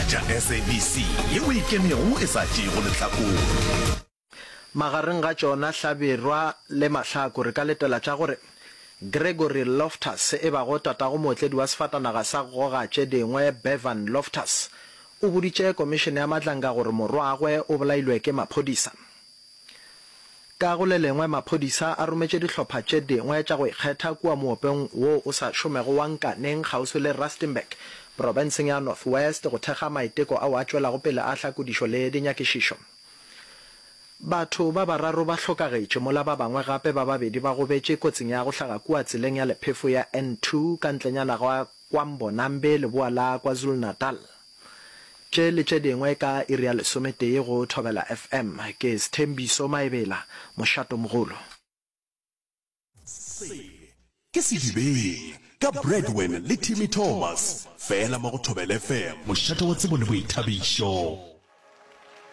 Tša SABC yeo e ikemego e sa tšeego lehlakore. Magareng ga tšona Hlabirwa le Mahlaku re ka letela tša gore Gregory Loftus e bago tatago mootledi wa sefatanaga sa goga tše dingwe Bevan Loftus o boditše komišene ya Madlanga gore morwagwe o bolailwe ke maphodisa. Ka go le lengwe maphodisa a rometše dihlopha tše dingwe tša go ikgetha kua moopeng wo o sa šomego wa Nkaneng kgauswi le Rustenburg profenseng ya North West go thekga maiteko ao a tšwelago pele a hlakodišo le dinyakišišo. Batho ba bararo ba hlokagetše mola ba bangwe gape ba babedi ba gobetše kotsing ya go hlaga kua tseleng ya lephefo ya N2 ka ntlenyana ga KwaMbonambi leboa la KwaZulu-Natal. Tše le tše dingwe ka iri ya lesometee go Thobela FM. Ke Sthembiso Maebela, mošatomogolo. Se ke Sedibeng ka Bradwin le Timmy Thomas, fela mo go Thobela FM, mošate wa tsebo le boithabišo.